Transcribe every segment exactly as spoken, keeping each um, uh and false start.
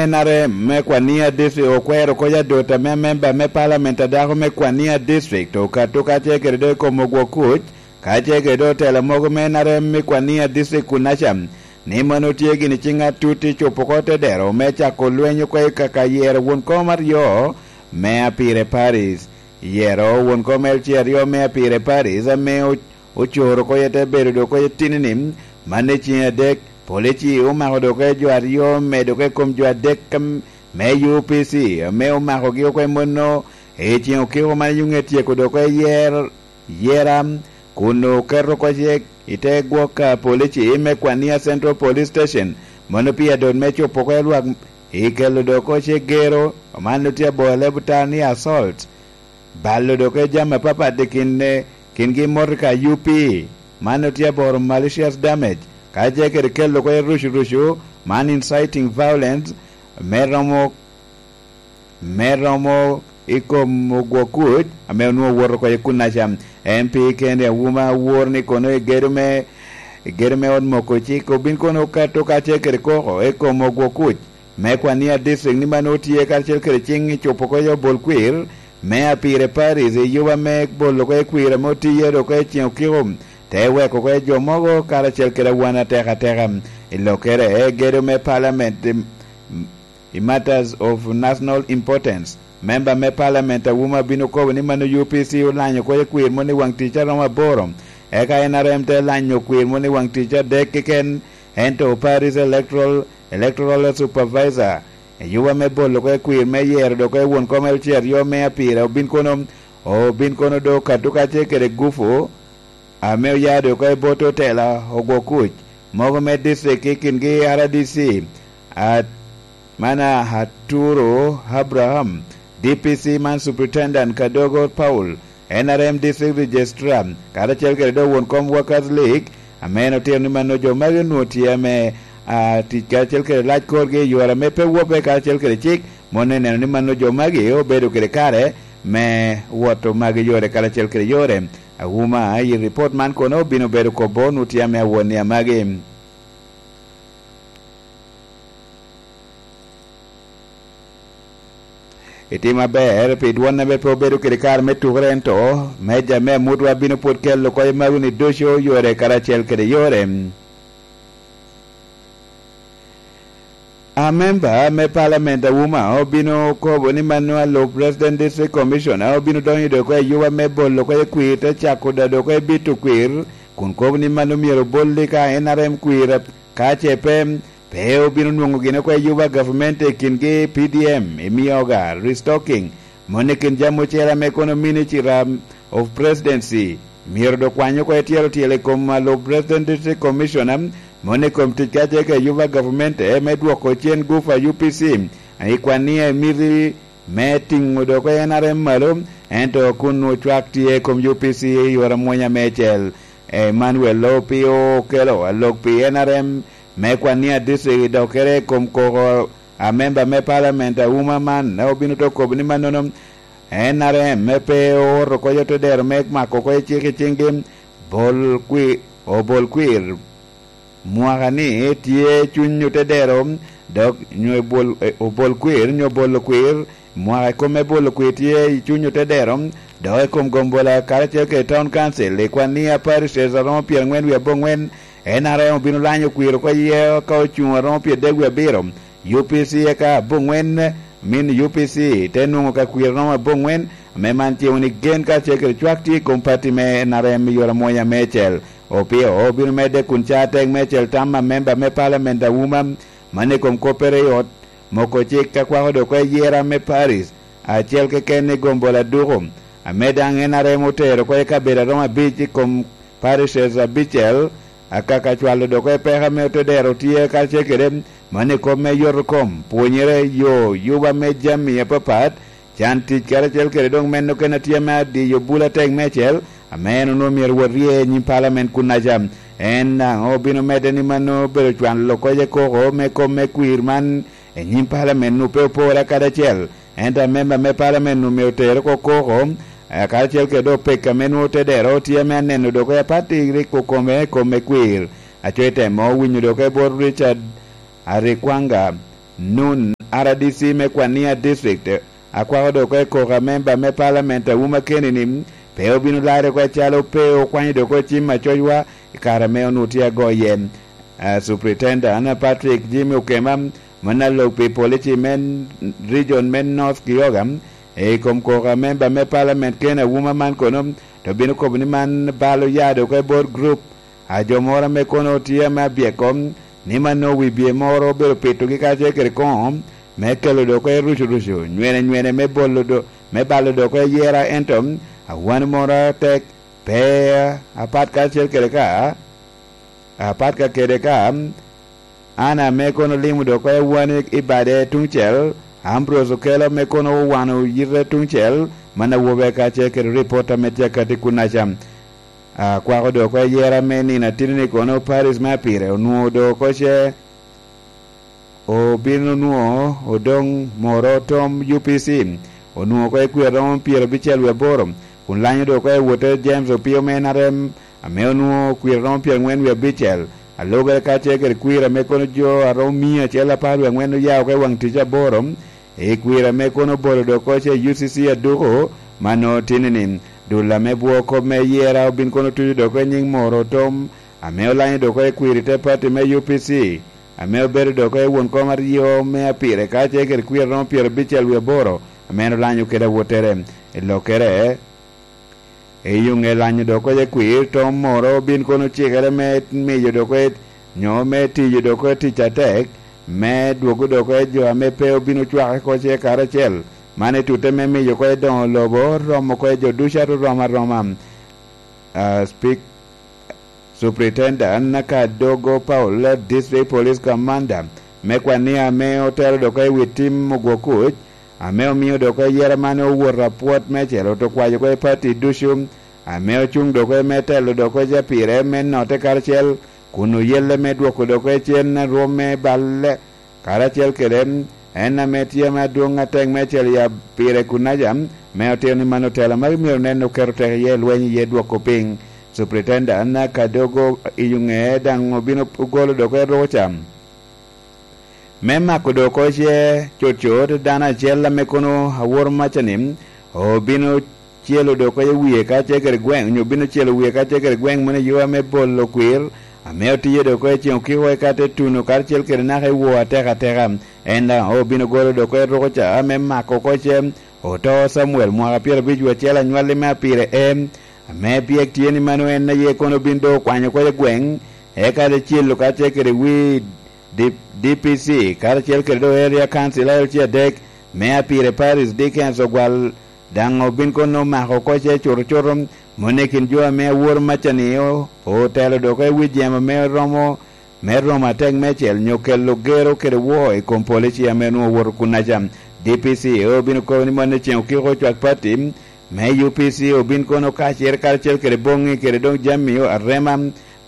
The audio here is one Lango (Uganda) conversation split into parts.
N R M me Kwania District okwero kony adot ame amemba me Parliament a dako me Kwania District okato kacel kede dok i kom ogwok kuc, kacel kede dok otela mogo me N R M me Kwania District kunaca, ni mano tye gini ciŋ atut i cupo oko tedero me cako lweny oko i kaka yero won kom aryo me Apire Paris. Yero won kom L C aryo me Apire Paris ame o-, ocoro oko te bedo dok oko tinini, man i ciŋ adek, polici omako dok oko jo aryo, medo oko i kom jo adek am-, me U P C, ame omakogi oko i mono i ciŋ okiko man yuŋe tyeko dok oko yer-, yera, kun oketo oko cik i te gwok a polici me Kwania Central Police Station, mano pi adot me cupo oko lwak i kelo dok oko cik gero, man otye abor lebutal ni assault. Balo dok oko jami apapat i kin, kingi motoka U P, man otye aboro malicious damage, kacel kede kelo oko rucu rucu, man inciting violence, me romo, me romo i kom ogwok kuc, ame onwoŋo owoto oko i kunaca. M P Kenny Auma wor ni kono i gedo me, i gedo me ot moko cik obin kono okato kacel kede koko i kom ogwok kuc me Kwania District ni man otye karacel kede ciŋ i cupo oko i obol kwir me Apire Paris i yuba me bolo oko i kwir ame otiye dok oko i ciŋ okiko, te weko oko i jo mogo karacel kede awan ateka ateka. I lokere, gedo me Parliament i, i matters of national importance, member me Parliament Auma bino kobo ni mano U P C olanyo oko i kwir moni waŋ tic aromo aboro, eka N R M te lanyo kwir moni waŋ tic adek keken, ento Paris Electoral, Electoral Supervisor, i yuba me bolo oko i kwir me yero dok oko i won kom L C aryo me Apire obin kono, obin kono do katukace kede gufu, ame oya dok oko i bot otela ogwok kuc mogo me district i kingi R D C, a, man a Arturo Abraham, D P C man Superintendent Kadogo Paul, N R M District Registrar, karacel kede dok won kom Workers League, ame en otito ni mano jo magi onwoŋo tye ame, a, tic karacel kede lac korgi i yore ame pe wobbe karacel kede cik, mano eneno ni mano jo magi obedo kede kare me woto magi yore karacel kede yore. Auma, i ripot man kono obino bedo kobo onwoŋo tye ame awon ni amagi. Itimo aber pi dwon ame pe obedo kede kare me tukere, ento meja me amutwa bino pwod kelo oko i mago-ni ducu yore karacel kede yore. A memba me Parliament Auma obino kobo ni mano a lub President District Commissioner obino donyo dok oko i yuba me bolo oko i kwir te cako dado oko i bito kwir, kun kobo ni mano myero obolli ka N R M kwir, ka ce pe, pe obino nwoŋo gin oko i yuba gavumenti i kingi P D M, i mioga, restocking, moni i kin jami ocele ame kono Ministry of Presidency myero dok kwany oko i tyelo tyel i kom a lub President District Commissioner, moni i kom tic kacel kede yuba gavumenti me dwoko cen gufa U P C, i kwan ni emiti me tiŋo dok N R M malo, ento kun ocwak tye i kom U P C i yore amwonya meicel. Emmanuel Opio okelo alok pi N R M me Kwania District i dokere i kom koko a memba me Parliament Auma man, obino to kobo ni mannono N R M me pe owoto oko i otodero me mako oko i cik i ciŋgi, bol kwi-, obol kwir. Mwaka ni tye cuny otedero, dok nyo ebol, e, obol kwir, nyo bolo kwir. Mwaka i kome bolo kwir tye i cuny otedero, dok i kom gombola karacel kede Town Council i kwan ni a parishes aromo pyerangwen wie abongwen, N R M obino lanyo kwir oko iye ka ocuŋ aromo pyeradek wie abiro, U P C eka abongwen, min U P C te nwoŋo ka kwir aromo abongwen, ame man ce wun i gen karacel kede cwak tye i kom pati me N R M i yore amwonya meicel. Opio obino medde kun ca tek meicel tam a memba me Parliament Auma, man i kom koppere i ot moko cik ka kwako dok oko i yera me Paris acel keken i gombola duko, ame daŋ N R M otero oko i kabedo aromo abic i kom parishes abicel, akaka cwalo dok oko i peko ame otodero tye karacel kede man i kop me yoto kom, pwonyere, yo, yuba me jami apapat, can tic karacel kede dok meno kene tye ame adiyo bul atek meicel, ame en onwoŋo myero wot rye i nyim Parliament kunnaca. En daŋ obino medde ni mano obedo cwalo koc i koko me kom me kwir man i nyim Parliament-nu pe opore kadi acel, ento amemba me Parliament-nu myero oter oko koko, eh, karacel kede dok pek ame nwoŋo tedero tye ame aneno dok oko i apati rik okome i kom me kwir. Aco itemo winyo dok oko i bot Richard Arikwanga Nun R D C me Kwania District, akwako dok oko i koko a memba me palament a Wuma Kenini, pe obino larre oko acalo pe okwanyo dok oko cim acocwa i kare ame onwoŋo tye ago iye. A, Superintendent Patrick Jimmy Okema, mano alok pi polici me region me North Kyoga, i kom koko a memba me palament Ken Awuma man kono, to bino kobo ni man balo ya dok oko i bot group a jo moro ame kono tye ame abyeko, ni mano wibye moro obedo pitogi kacel kede koŋo me kelo dok oko i rucurucu, nywene nywene me bolo do-, me balo dok oko i yera, ento awano moro atek pe apat kacel kede ka, apat ka kede ka, an ame kono olimo dok oko i awani i bade tuŋcel, Ambrose Okello ame kono owano yite tuŋcel, man awobe kacel kede ripot ame tye akati kunnaca. Akwako dok oko i yera me nino atidi ni kono Paris me apire onwoŋo dok oko ce obino nwoŋo odoŋ moro tom U P C, onwoŋo oko i kwir romo pyerabicel wie aboro, kun lanyo dok oko i wote James Opio me N R M, ame onwoŋo kwir romo pyerangwen wie abicel, alubere kacel kede kwir ame kono jo a romo mia acel apar wie angwen oya oko i waŋ tic aboro, i kwir ame kono obolo dok oko ce U C C aduko, ma nwoŋo tini-ni, dul ame bwoo kop me yera obin kono tuco dok oko i nyiŋ moro tom, ame olanyo dok oko i kwir i te pati me U P C, ame obedo dok oko i won kom aryo me apire kacel kede kwir romo pyerabicel wie aboro, ame en olanyo kede awottere. I lokkere, i yuŋe lanyo dok oko i kwir, tom moro obin kono ocikere me miyo dok oko, nyo me tiyo dok oko tic atek, me dwogo dok oko jo ame pe obino cwake oko ce karacel. Man i tutte me miyo oko i doŋo lobo, romo oko i jo ducu ato rom aroma. Ah, Speak-, Superintendent Kadogo Paul, District Police Commander me Kwania, ame otelo dok oko i wi tim ogwo kuc, ame omio dok oko yera man owoto apwot meicel, oto kwayo oko i pati ducu, ame ocuŋ dok oko me telo dok oko i capire me notte karacel, kun oyelle me dwoko dok oko i cen rwom me balle, karacel kede en ame tye ame adwoŋ atek meicel i apire kunnaca, me otito ni mano tela magi myero nen oketo tek iye lweny iye dwoko piny. Superintendent Kadogo i ŋe daŋ obino ogolo dok oko i rukuca me mako dok oko ce cutcut dano acel ame kono aworo maca-ni obino celo dok oko i wie kacel kede gweŋ, onyo obino celo wie kacel kede gweŋ moni i yo ame bolo kwir, ame otiye dok oko i ceŋ okiko eka te tuno karacel kede naka i woo atek ateka. En daŋ obino golo dok oko i rukuca ame mako oko ce oto Camuel mwaka pyerabic wie acel anywalli me apire em, ame byek tye ni mano en aye kono obin doŋ okwanyo oko i gweŋ, eka te celo kacel kede wi D-, D P C, karacel kede doŋ Area Council L C adek, me apire Paris Dickens Ogwal, daŋ obin kono omako oko ce cuto cuto, moni i kin jo ame aworo maca-ni o-, otelo dok oko i wi jemo me romo, me romo atek meicel, nyo kelo gero kede woo i kom polici ame onwoŋo owoto kunnaca. D P C obino kobo ni moni ceŋ okiko ocwak pati me U P C obin kono kacere karacel kede boŋŋi kede doŋ jami arema,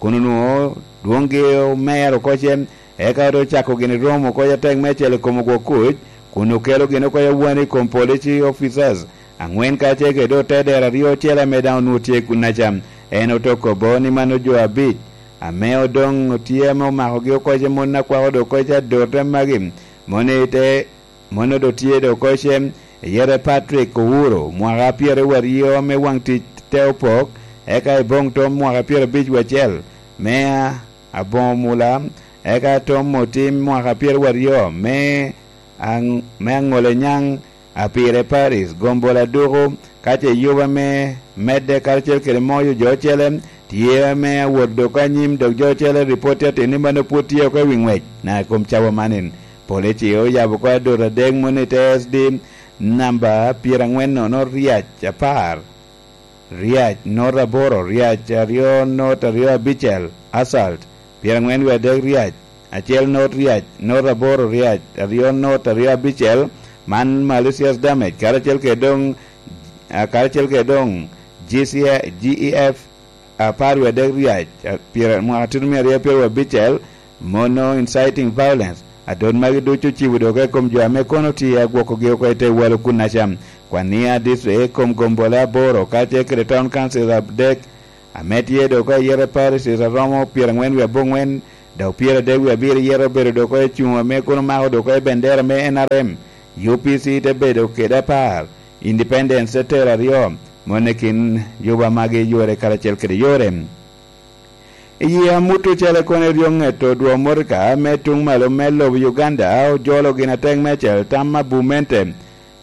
kun onwoŋo dwoŋgi omer oko ce, eka ote cako gini romo oko atek meicel i kom ogwok kuc, kun okelo gini oko awani i kom police officers aŋwen kacel kede doŋ te dero aryo ocele ame daŋ onwoŋo tye kunnaca. En ote kobo ni mano jo abic ame odoŋ tye ame omakogi oko ce, mon akwako doŋ oko ce adote magi, moni te Mano doŋ tye doŋ oko ce, iyete Patrick Owuro, mwaka pyeraryo aryo me waŋ tic te opok, eka i boŋ tom mwaka pyerabic wie acel me aboŋo mula, eka tom otim mwaka pyeraryo aryo me aŋ-, me aŋole nyaŋ apire Paris, gombola duku, ka ce yuba me medde karacel kede moyo jo ocele, tye ame awot dok anyim, dok jo ocele ripot tye atin ni mano pwod tye oko i wi ŋwec na i kom cawa manin. Polici oyabo oko adot adek moni te S D namba pyerangwen nono ryac apar, ryac not aboro, ryac aryo not aryo abicel, assault, pyerangwen wie adek ryac, acel not ryac, not aboro ryac, aryo not aryo abicel, man malicious damage, karacel kede doŋ, a, karacel kede doŋ G C, G E F apar wie adek ryac, a, pyera-, mwaka tutumia aryo pyeraryo abicel, mono inciting violence. Adot magi ducu ocibo doŋ oko i kom jo ame kono tye agwokogi oko i te walo kunnaca. Kwania district i kom gombole aboro, kacel kede town council adek, ame tye doŋ oko i yete parishes aromo pyerangwen wie abongwen, Dok pyeradek wie abiro yete obedo dok oko i cuŋ ame kono mako dok oko i bendera me N R M, U P C te bedo kede apar, Independence te tero aryo, moni kin Juba magi yore karacel kede yore. I yie amut ocele kono eryo ŋeto dwo motoka me tuŋ malo me lobo Uganda ojolo gin atek me acel tam abumente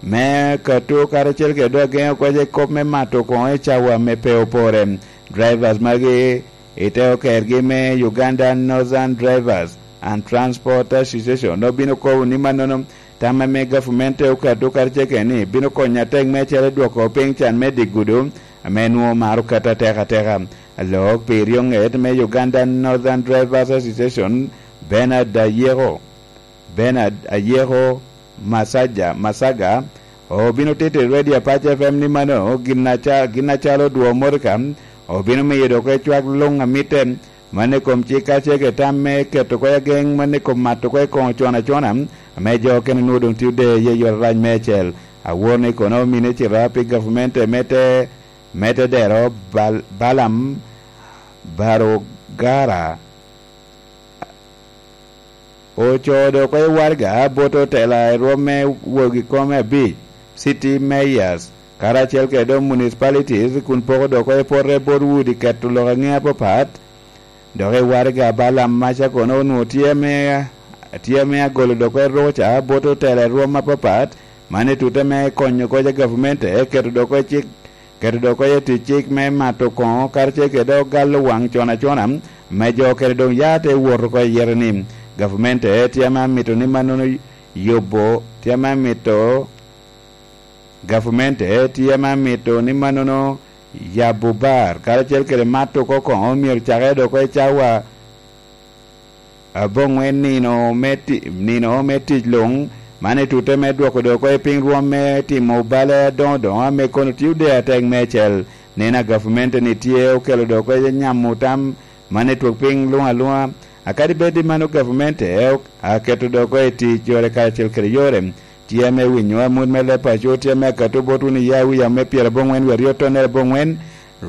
me kato karacel kede dok ageŋo koc i kop me mato koŋo i cawa me pe opore. Drivers magi i te okergi me Uganda Northern Drivers and Transport Association obino kobo ni mannono tam ame gavumenti te okato karacel kede ni bino konyo atek me acel i dwoko piny can me dye gudo ame nwoŋo maro kato atek ateka. Alok pi ryo ŋet me Uganda Northern Drivers Association, Bernard Ayeko, Bernard Ayeko Masaja, Masaga, obino tito i Radio Apac F M ni mano gin aca-, gin acalo dwo motoka obino miyo dok ecwak luŋ amitte man i kom cik kacel kede tam me keto kwo ageŋ man i kom mato kwo i koŋo con acona, ame jo okene nwoŋo doŋ tye ode iye yot arac me acel. Awor ni kono omine cita pi gavumenti me te, me te dero Bal-, Balaam Barugara ocoo dok oko i waraga bot otela i rwom me wogi kome abic, city mayors, karacel kede doŋ municipalities, kun poko dok oko i pote bot udi keto lok aŋe apapat. Dok i waraga Balaam Maca kono onwoŋo tye ame, tye ame agolo dok oko i ruca bot otela i rwom apapat, man i tute me konyo koc a gavumenti keto dok oko i cik keto dok oko i tic cik me mato koŋo karacel kede dok galo waŋ con acona, me jo okene doŋ ya te wot oko i yete ni, gavumenti tye ame amito ni mannono yubo, tye ame amito, gavumenti tye ame amito ni mannono yabo bar karacel kede mato oko koŋo myero cakere dok oko i cawa aboŋwen nino me ti-, nino me tic luŋ, man i tute me dwoko dok oko i piny rwom me timo bale adoŋo doŋo ame kono tye ode atek me acel. Nino a gavumenti ni tye okelo dok oko i nyamo tam man i twok piny luŋ aluŋa. Akadi bed i mano gavumenti ok aketo dok oko i tic yore karacel kede yore. Tye ame winyo amut me leb paco, tye ame akato botwu ni ya wi yam me pyeraboŋwen wi aryo tonnere aboŋwen,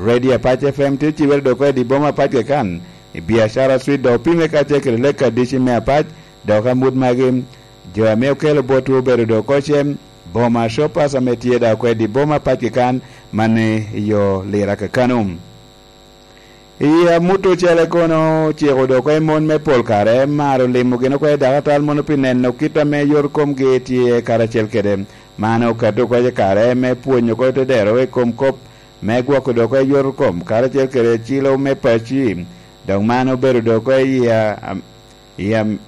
Radio Apac F M tye cibere dok oko i di boma apac keken, i biacara, swit dok opime kacel kede lek adici me apac, dok amut magi, jo ame okelo botwu obedo dok oko cem, boma shoppers ame tye dok oko i di boma apac keken, man i yo Lira kakano. I amut ocele kono ociko dok oko i mon me pol kare, maro limo gin oko i dakatal mono pi neno kit ame yot komgi tye karacel kede. Man okato oko i kare me pwonyo oko te dero i kom kop me gwoko dok oko yot kom karacel kede cilo me paci. Dok man obedo dok oko i a-, i am-,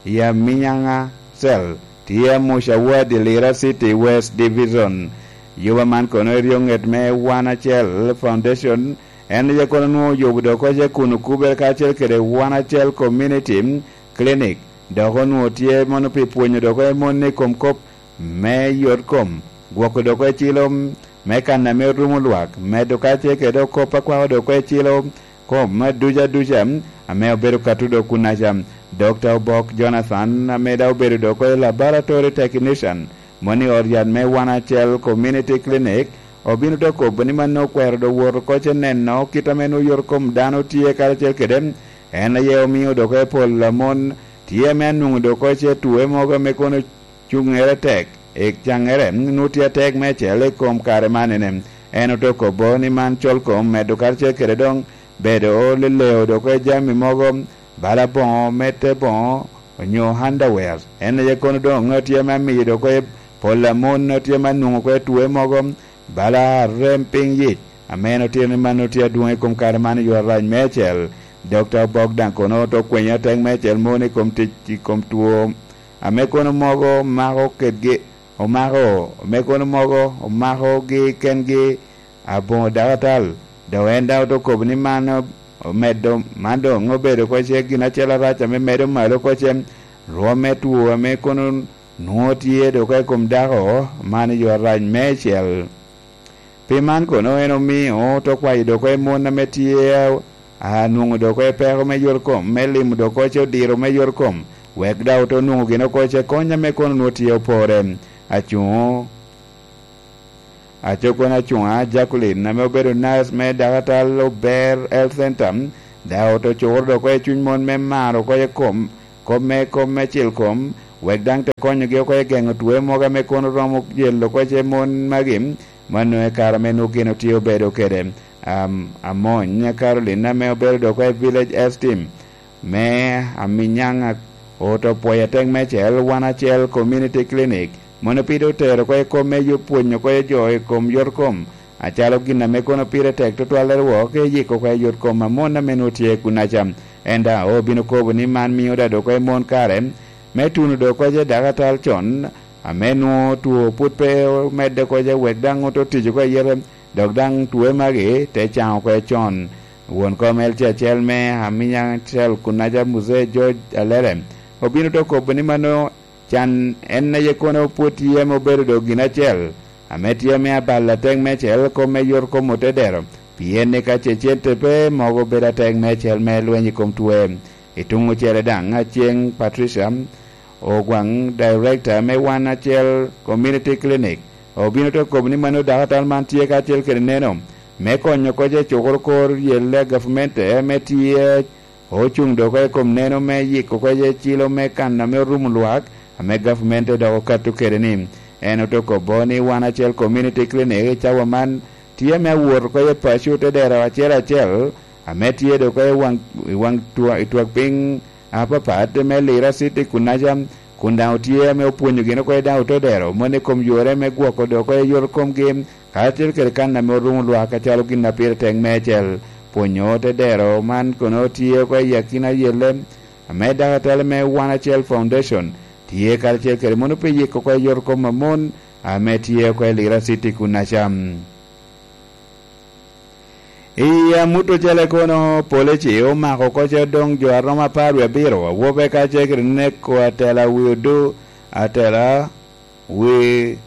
i Aminyaŋa Cell, tye Amuca Ward i Lira City West Division. Yuba man kono eryo ŋet me Wan Acel Foundation, en aye kono nwoŋo oyubo dok oko ce kun okubere kacel kede Wan Acel Community Clinic, dok onwoŋo tye mono pi pwonyo dok oko i mon i kom kop me yot kom, gwoko dok oko i cilo me kan ame orumo lwak, medo kacel kede dok kop akwako dok oko i cilo kom duca duca ame obedo ka tudo kunaca. Dokta Obok Jonathan ame daŋ obedo dok oko i laboratory technician, moni i ot yat me Wan Acel Community Clinic, obino te kobo ni man okwero dok wot oko ce neno kit ame nwoŋo yot kom dano tye karacel kede. En aye omio dok oko i pol a mon tye ame anwoŋo dok oko ce tuwe mogo ame kono cuŋere tek, i caŋŋere nwoŋo tye atek meicel i kom kare manene. En ote kobo ni man col kom medo karacel kede doŋ bedo leleo dok oko i jami mogo, bala boŋo, mete boŋo, onyo underwears. En aye kono doŋ tye ame amiyo dok oko i pol a mon tye ame anwoŋo oko i tuwe mogo, bala arem piny yic, ame en otito ni man otye adwoŋ i kom kare man i yo arac meicel. Dokta Obok daŋ kono ote kwenyo atek meicel mon i kom tic, i kom two ame kono mogo mako kedgi, omako, ame kono mogo omakogi kengi aboŋo dakatal. Dok en daŋ ote kobo ni man omedo, man doŋ obedo oko ce gin acel arac ame medo malo oko ce rwom me two ame kono nwoŋo tye dok oko i kom dako man i yo arac meicel. Pi man kono en omio ote kwayo dok oko i mon ame tye a, anwoŋo dok oko i peko me yot kom, me limo dok oko ce odiro me yot kom, wek daŋ ote nwoŋo gin oko ce kony ame kono nwoŋo tye opore. Acuŋo, aco kono acuŋa Jacqueline ame obedo nurse me dakatal Ober Health Center, Daŋ oto cukoro dok oko i cuny mon me maro oko i kom kop me, kop me cil kom, wek daŋ te konyogi oko i geŋo twe mogo ame kono romo yelo oko i mon magi, ma nwoŋo i kare ame nwoŋo gin otye obedo kede. Am-, Amony Caroline ame obedo dok oko i Village Esteem me Aminyaŋ oto pwoyo atek meicel, wan acel Community Clinic, mono pide otero oko i kom me yub pwonyo oko i jo i kom yot kom, acalo gin ame kono pire tek tutwalle rwok, eyiko oko i yot kom a mon ame nwoŋo tye kunaca. En daŋ obino kobo ni man mio daŋ dok oko i mon kare me tuno dok oko i dakatal con, ame nwoŋo two pwod pe omedde oko i wek daŋ oto tic oko i yete, dok daŋ twe magi te caŋ oko i con. Won kom L C acel me Aminyaŋ Cell kunaca Muzee George Alere obino te kobo ni mano can en aye kono pwod tye ame obedo dok gin acel, ame tye ame abalo atek meicel kom me yot kom otedero, pien ni ka ce cente pe mogo bedo atek meicel me lweny i kom twe. I tuŋ ocele daŋ, Aceng Patricia Ogwaŋ, Director me Wan Acel Community Clinic, obino te kobo ni mano dakatal man tye kacel kede neno me konyo oko i cukoro kor yelle a gavmente ame tye ocuŋ dok oko i kom neno me yiko oko i cilo me kan ame orumo lwak, ame gavmente dok okato kede ni. En ote kobo ni Wan Acel Community Clinic i cawa man tye ame awot oko i paco te dero acel acel, ame tye dok oko i waŋ, i waŋ twa-, i twak piny apapat me Lira City kunaca, kun daŋ otye ame opwonyo gin oko i daŋ ote dero, moni i kom yore me gwoko dok oko i yot komgi, karacel kede kan ame orumo lwak acalo gin a pire tek meicel. Pwonyo te dero man kono tye oko i akina yelle, ame dakatal me Wan Acel Foundation tye karacel kede mono pi yiko oko i yot kom a mon ame tye oko i Lira City kunaca. I amut ocele kono, polici omako oko ce odoŋ jo a romo apar wie abiro, awobe kacel kede neko atela wi odo, atela wi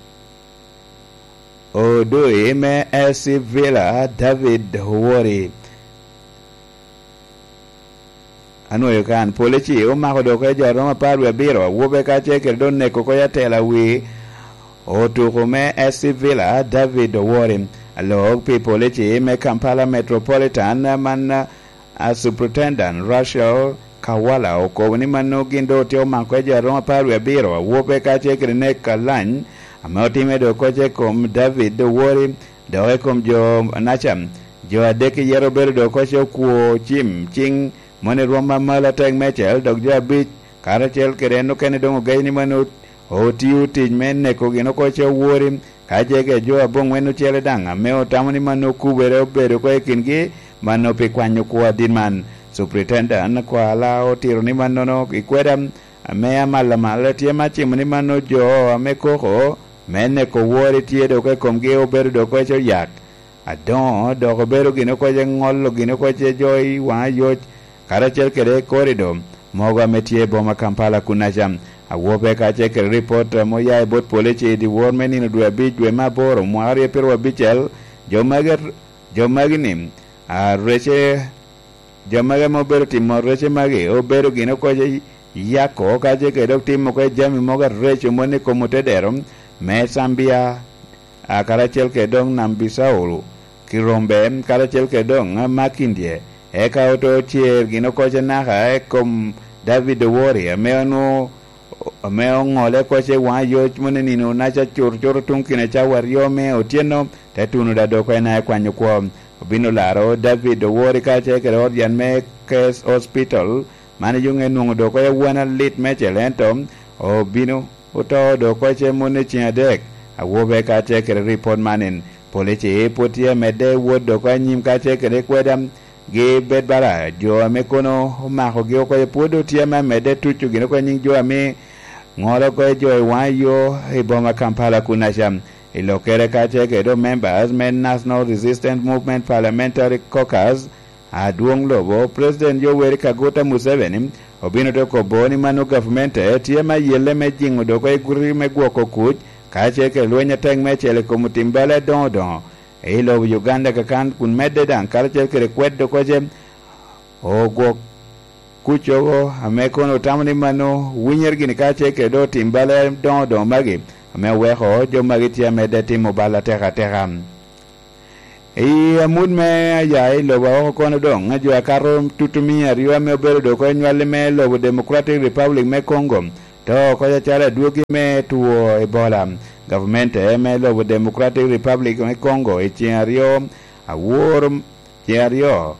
odoi me S C Villa, David Owori. Anwoyo kan, polici omako dok oko jo a romo apar wie abiro, awobe kacel kede dok neko oko atela wi otuko me S C Villa, David Owori. Alok pi polici me Kampala Metropolitan, man, a, Superintendent Rachel Kawala okobo ni mano gin doŋ otye omako jo a romo apar wie abiro, awobe kacel kede nek alany ame otime dok oko i kom David Owori, dok i kom jo naca. Jo adek i yero obedo dok oko okwo cim ciŋ moni rwom amalo atek meicel, dok jo abic karacel kede en okene doŋ ogeyo ni mano otio tic me neko gin oko ce owori, ka jege jo aboŋwen ocele daŋ ame otamo ni mano okubere obedo oko i kingi, mano pi kwanyo kwo adit man. Superintendent Kwala otito ni mannono i kweda ame amal amal tye ma cimo ni mano jo ame koko me neko wori tye dok i komgi obedo dok oko ce oyak. Adoŋo dok obedo gin oko ce ŋolo gin oko ce jo i waŋ ayoc, karacel kede korido mogo ame tye i boma Kampala kunaca. Awobe kacel kede ripot ame oya i bot polici i dyewor me nino dwe abic dwe me aboro mwaka aryo pyeraryo abicel, jo magi, jo magi ni, a, rece, jo magi ame obedo timo rece magi obedo gin oko ce yako kacel kede dok timo oko jami mogo areco moni i kom otedero me Zambia, a, karacel kede dok Nam Bissau, Kirombe, karacel kede dok, a, Makindye, eka oto cer gin oko ce naka i kom David Owori, ame onwoŋo, ame oŋole oko ce waŋ ayoc moni nino naca cuto cuto tuŋ kine cawa aryo me otyeno, te tuno da dok en aye kwanyo kwo. Obino laro David Owori kacel kede ot yan me Case Hospital, man i yuŋe nwoŋo dok oko awan alit meicel, ento obino oto dok oko ce moni ceŋ adek. Awobe kacel kede ripot man en, polici pwod tye amedde wot dok oko anyim kacel kede kweda gi bed bala jo ame kono omakogi oko ce pwod otye ame amedde tuco gin oko nyiŋ jo ame ŋolo oko jo i waŋ yo i boma Kampala kunaca. I lokkere kacel kede dok members me National Resistance Movement Parliamentary Caucus, adwoŋ lobo, President Yoweri Kaguta Museveni, obino te kobo ni mano gavmente tye me ayelle me jiŋo dok oko i guti me gwoko kuc, kacel kede lweny atek meicel i kom otim bala adoŋo doŋo i lobo Uganda kakan, kun medde daŋ karacel kede kwed dok oko ce ogwok kuc oko, ame kono otamo ni mano winyere gini kacel kede dok otim bala adoŋo doŋo magi, ame oweko jo magi tye amedde timo bal atek ateka. I amut me aya i lobo aoko kono doŋ, jo akato tutumia aryo ame obedo dok oko i nywalli me lobo Democratic Republic me Congo, to oko acalo adwogi me two Ebola. Gavmente me lobo Democratic Republic me Congo i ceŋ aryo, awor ceŋ aryo,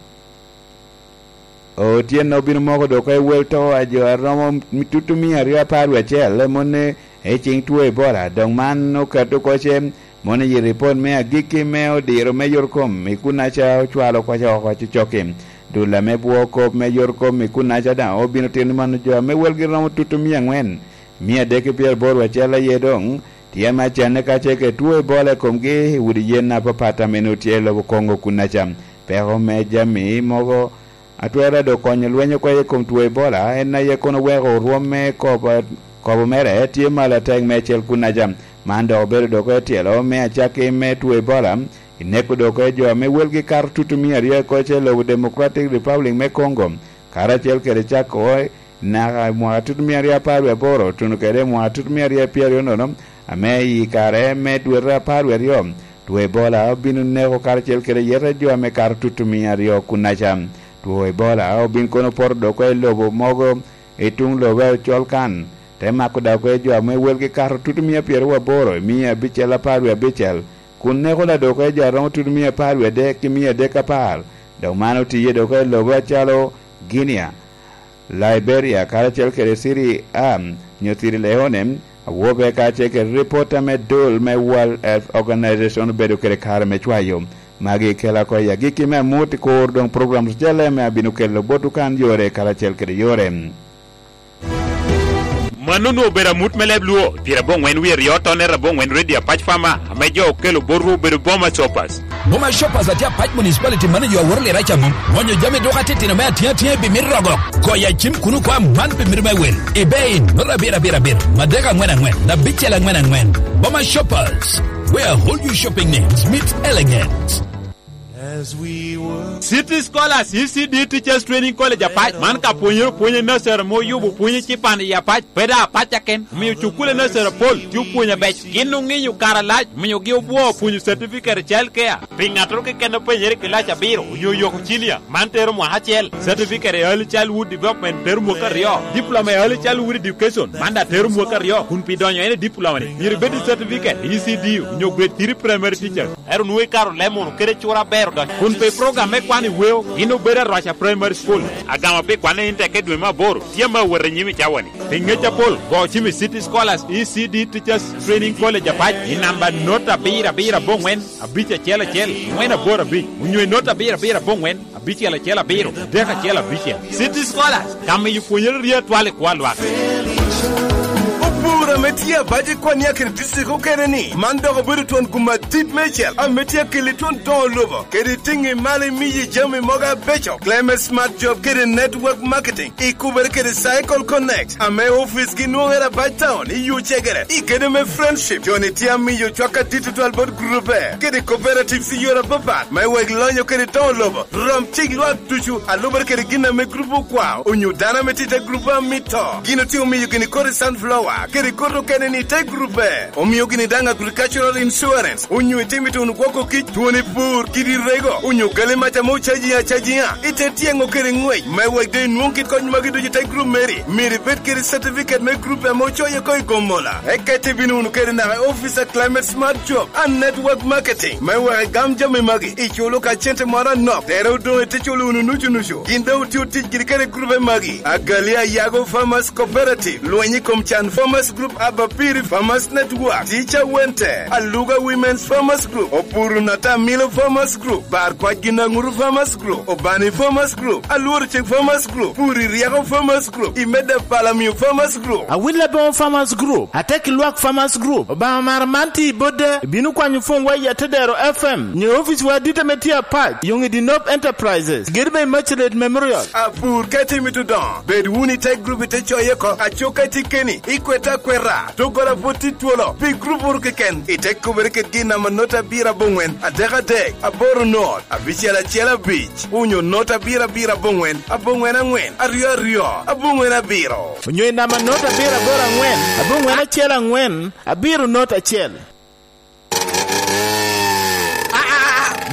otyeno obino moko dok i wel to a jo a romo tutumia aryo apar wie acel, mone i ceŋ two Ebola. Dok man okato oko ce, mone i ripot me agikki me odiro me yot kom i kunnaca ocwalo kwaca oko cocokki. Dul ame bwo kop me yot kom i kunnaca daŋ obino tito ni mano jo ame welgi romo tutumia angwen, mia adek ki pyeraboro acel aye doŋ tye ame acanne kacel kede two Ebola i komgi i udi yen apapat ame nwoŋo tye i lobo Congo kunnaca. Peko me jami mogo atwero dok konyo lweny oko i kom two Ebola, en aye kono weko orwom me kobo, kobo mere tye malo atek meicel kunnaca. Man dok obedo dok etyelo me acakki me two Ebola, i neko dok jo ame welgi kato tutumia aryo oko i lobo Democratic Republic me Congo, karacel kede cako naka i mwaka tutumia aryo apar wie aboro, tuno kede i mwaka tutumia aryo pyeraryo nono, ame i kare me dwete apar wie aryo, two Ebola obino neko karacel kede yete jo ame kato tutumia aryo kunnaca. Two Ebola obin kono poto dok oko i lobo mogo i tuŋ lobo acol kan, te mako dok oko i jo ame welgi kato tutumia pyeraryo aboro i mia abicel apar wie abicel, kun neko ladok oko i jo a romo tutumia apar wie adek ki mia adek apar. Dok man otiye dok oko i lobo acalo Guinea, Liberia, karacel kede Sierra, nyo Sierra Leone, awobe kacel kede ripot ame dul me World Health Organization obedo kede kare me cwayo. Magi kela oko i agikki me amut i kor doŋ program ocele ame abino kelo botwu kan yore karacel kede yore. Mano onwoŋo obedo amut me leb Luo, pyerabongwen wie aryo tonne rabongwen redio Apac Fama, ame jo okelo botwu obedo Boma Shoppers. Boma Shoppers atye Apac Municipality, mano jo aworo lira ca mom. Mwonyo jami dok atitino me atiŋ atiŋa i bimit rogo. Goyo acim kun okwa man bimit me wel. Ibe in, nota abiro abiro abiro, madek angwen angwen, abicel angwen angwen. Boma Shoppers, where whole you shopping needs meet elegance. City Scholars E C D Teachers Training College Apac, man ka pwonyere opwonyo nursery ame oyubo pwonyo cipan i Apac, pe daŋ Apac aken, omio cukule nursery apol tye opwonyo abeco. Gin oŋinyo kare alac, omiogi obwoo pwonyo certificate i child care. Pi ŋattoro keken a penyere i kilac abiro onyo oyoko cilia, man tero mwaka acel. Certificate i Early Childhood Development tero mwaka aryo. Diploma i Early Childhood Education, man daŋ tero mwaka aryo, kun pi donyo en i diploma-ni, myero ibed i certificate i E C D onyo grade three primary teacher. Ero nwoŋo ikato leb munu kede cura aber odonyo. Kun pi program me kwano i weo, gin obedo Arwaca Primary School. Agamo pi kwanne in tek i dwe me aboro, tye ame awot i nyim i cawa-ni. Pi ŋec apol, go cim i City Scholars E C D Teachers Training College Apac i namba nota abiro abiro abongwen, abic acel acel, angwen aboro abic, onyo i nota abiro abiro abongwen, abicel acel abiro, adek acel abicel. City Scholars, ka miyo pwonyere rye atwal i kwo a lwak. Opur ame tye abac i kwan ya kede district okene ni, man dok obedo twon gum adit mecel ame tye akeli twon doŋo lobo, kede tiŋi malo imiyi jami mogo abeco. Climate Smart Job kede Network Marketing, ikubere kede Cycle Connect, ame ofice gi nwoŋere abac town i yo cegere, i kede me Friendship. Joni tye amiyo cwak adit tutwal bot grupe, kede cooperatives i yore apapat, me wek lonyo kede doŋo lobo. Rom cik lwak ducu, alubere kede gin ame grup okwao, onyo dano ame tye i te grup a mito. Gin otye omiyo gini kodi sunflower, kede kodi okene ni te grupe. Omio gini daŋ agricultural insurance, onyo itimo ituno gwoko kic, twoni pur, kidi rego, onyo gali mac ame ocaji acajiŋa, ite tyeŋo kede ŋwec, me wek doŋ inwoŋ kit kony magi ducu i te grup meri. Myero ibed kede certificate me grup ame ocoye oko i Gomola. Eka ite bino wunu kede naka i office a Climate Smart Job and Network Marketing, me wek igam jami magi, iculo ka cente moro anok, tere odoŋ ite culo wunu nucu nucu. Gin daŋ otye otic giri kede grupe magi: Agali Ayago Farmers Cooperative, Lweny i kom Can Farmers Group, Abapiri Farmers Network, Teacher Wente, Aluga Women's Farmers Group, Opuru Natamilo Farmers Group, Bar Kwac Ginaŋuru Farmers Group, Obani Farmers Group, Alworo Cik Farmers Group, Puri Ryeko Farmers Group, Imeda Palamio Farmers Group. Awil Aboŋo Farmers Group, Atek Lwak Farmers Group, Obaŋa Mara man tye i Bodde, ibino kwanyo pwonywa i Atedero F M, nyo ofice wa adit ame tye apac, Yoŋidi Nob Enterprises, gedo me Immaculate Memorial. Apur ka itye mito dongo, bed wunu i te grup ite coye oko, aco ka itye keni, ikwete akweta, doggola pwod tye twolo, pi grup oro keken, ite kubere kede gin namba not abiro abongwen, adek adek, aboro not, abicel acel abic, onyo not abiro abiro abongwen, abongwen angwen, aryo aryo, abongwen abiro. Onyo i namba not abiro aboro angwen, abongwen acel angwen, abiro not acel.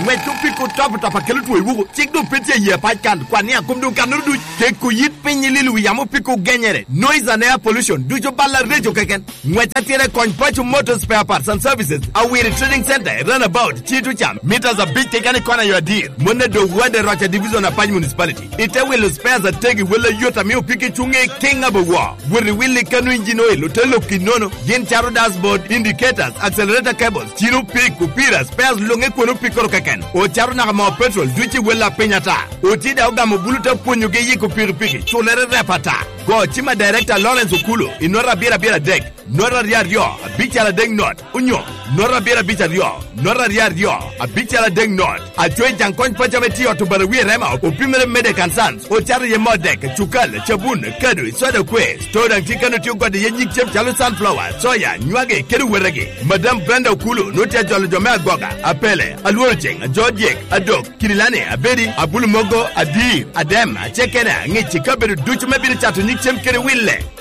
Ngwec opiko top top a kelo two i wuku. Cik doŋ pe tye i yie pac kan. Kwan ni akom doŋ kannoro duc. Keko yit piny i lilo wi yamo opiko genyere. Noise and air pollution. Ducu bal areco keken. Ngwec atira i kony Paco Motor Spare Parts and Services. Awiri Trading Center, Runabout, Cito Cam. Meters abic keken i kona yo adir. Mon a doŋ wade Roca Division, Apac Municipality. Ite wilo spares ategi, wel ayot ame opiki cuŋe i King Abawa. Wot i wil i kano engine oil, ote lok i nono. Gin caro dashboard, indicators, accelerator cables, cino pik, opira, spares luŋe kwon opikkoro keken. Ocaro naka moo petrol, duc i wel a piny ata. Oti daŋ ogamo bulu te pwonyogi yiko pikipiki, culere rep ata. Go cim a Director Lawrence Okulu, i nota abiro abiro adek. Nota aryo aryo, abical adek not, onyo nota abiro abic aryo, nota aryo aryo, abical adek not. Aco i Jaŋ Kony Paco ame tye i ot Obarawi i Rema, opimere Medek and Sons, ocato iye moo dek, cukal, cabun, kado, soda kwe. Store daŋ tye kano tye ogode iye nyig cem calo sunflower, soya, nywagi, kede wetegi. Madam Brenda Okulu nwoŋo tye ajolo jo me Agoga, Apele, Alworo Ceŋ, Ajo Dyek, Adok, Kirilani, Abedi, Abulu Mogo, Adir, Adem, Acekena, Ŋic, i kabedo ducu me bino cato nyig cem kede wille.